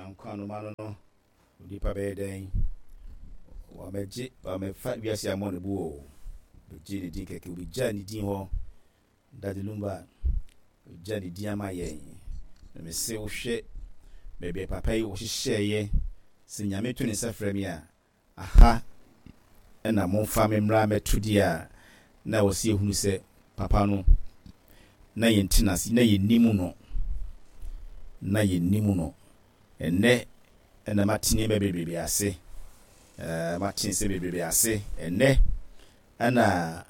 Nyankwa no ma no no, onipa bɛyɛ dɛn? Wamɛgye, wamɛfa wiase ammɔ ne bo o. Bɛgye ne din kɛkɛ, obɛgya ne din hɔ. Daddy Lumba, ogya ne din ama yɛn. Na mese wohwɛ baabi a papa yi wɔhyehyɛeɛ, sɛ Nyame to ne nsa frɛ me a, Aha na momfa me mmra mmɛto deɛ a na ɛwɔ sɛ yɛhunu sɛ papa no, na yɛnte no ase, na yɛnnim no, na yɛnnim no. Ɛnnɛ na mate nneɛma bebrebe ase, ɛɛ, mate nsɛm bebrebe ase. Ɛnnɛ na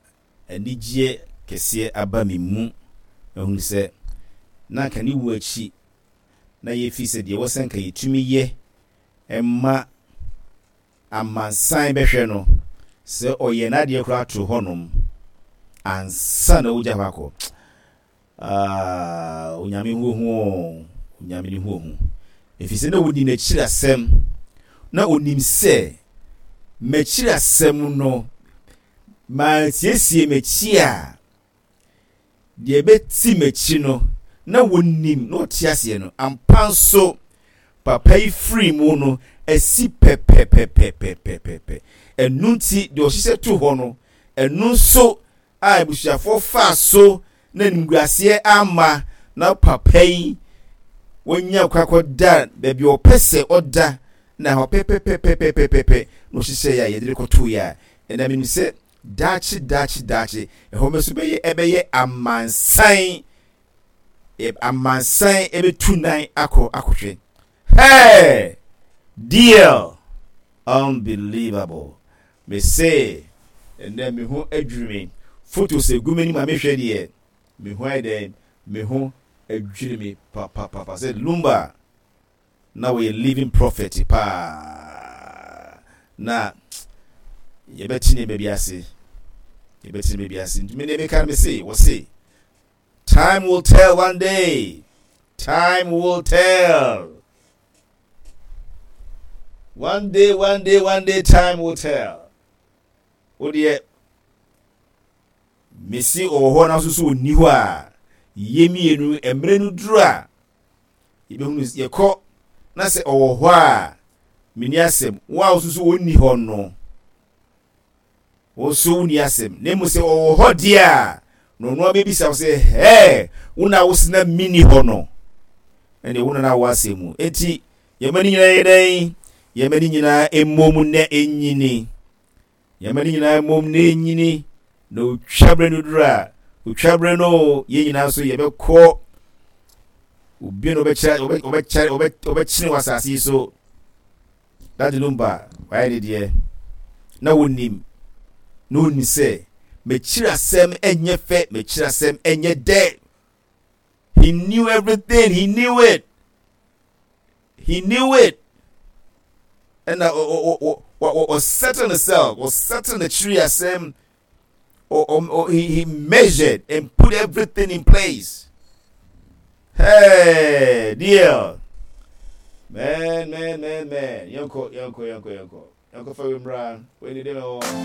anigyeɛ kɛseɛ aba me mu, mahunu sɛ na anka ne wuo akyi na yɛfiri sɛ deɛ ɛwɔ sɛ anka yɛtumi yɛ ma amansan bɛhwɛ no sɛ ɔyɛ n'adeɛ koraa to hɔnom ansa na wogya hɔ akɔ. Ah, Onyame ho ohu o, Onyame ne ho ohu. Ɛfiri sɛ na ɔnim n'akyiri asɛm, na ɔnim sɛ m'akyiri asɛm no, mansiesie m'akyi a, Deɛ ɛbɛti m'akyi no, na wɔnim, na wɔte aseɛ no, ampa nso, papa yi firii mu no, asi pɛpɛpɛpɛpɛpɛpɛ. Ɛno nti, deɛ ɔhyehyɛ to hɔ no, ɛno nso a abusuafoɔ faa so na animguaseɛ amma na papa yi wɔnya kwan kɔda baabi a ɔpɛ sɛ ɔda na hɔ pɛpɛpɛpɛpɛpɛ na ɔhyehyɛ yɛ a yɛde no kɔtoeɛ a, ɛnna menim sɛ Daakye, daakye, daakye, ɛhɔ nso bɛyɛ ɛbɛyɛ amansan, amansan ɛbɛtu nan akɔ akɔhwɛ. Hey! Deal! Unbelievable. Me se, ɛnɛ me ho adwiri me. Photos egu m'anim a mehwɛ deɛ, me ho ayɛ dɛn? Me ho adwiri me papapapa sɛ Lumba. Na ɔyɛ living prophet paa. Na yɛbɛte nneɛma bi ase. Yɛbɛte nneɛma bi ase. Nti me deɛ meka no me se, wɔse time will tell one day. Time will tell. One day, one day, one day, time will tell. Wo deɛ mesi ɔwɔ hɔ na nso so ɔnni hɔ a yɛ mmienu mmerɛ no duru a Yɛbɛhunu, yɛkɔ na sɛ ɔwɔ hɔ a, menni asɛm. Wo a wosusu ɔnni hɔ no, wo nso wonni asɛm. Na mmom sɛ ɔwɔ hɔ deɛ a, na ɔno abɛbisa wo sɛ, hɛɛ, wo na wose na menni hɔ no? Ɛnneɛ wo na na wɔ asɛm mu. Enti, yɛma ne nyinaa yɛ dɛn? Yɛma ne nyinaa mmom na ɛnyini. Yɛma ne nyinaa mmom na ɛnyini, na otwa berɛ no duru a, otwa berɛ no o, yɛn nyinaa nso yɛbɛkɔ obi na ɔbɛkyerɛ ɔbɛkyerɛ ɔbɛkyene wɔ asase yi so. Daddy Lumba wayɛ ne deɛ na wɔnim na ɔnim sɛ m'akyiri asɛm ɛnyɛ fɛ, m'akyiri asɛm ɛnyɛ dɛ. He knew everything, he knew it. He knew it. Ɛna ɔsettle ne self, ɔsettle n'akyiri asɛm. He measured and put everything in place. Hey, deal. Man, man, man, man. Yɛnkɔ, yɛnkɔ, yɛnkɔ, yɛnkɔ. Yɛnkɔ fa wei mmra. Wei ne deɛ mɛwɔ.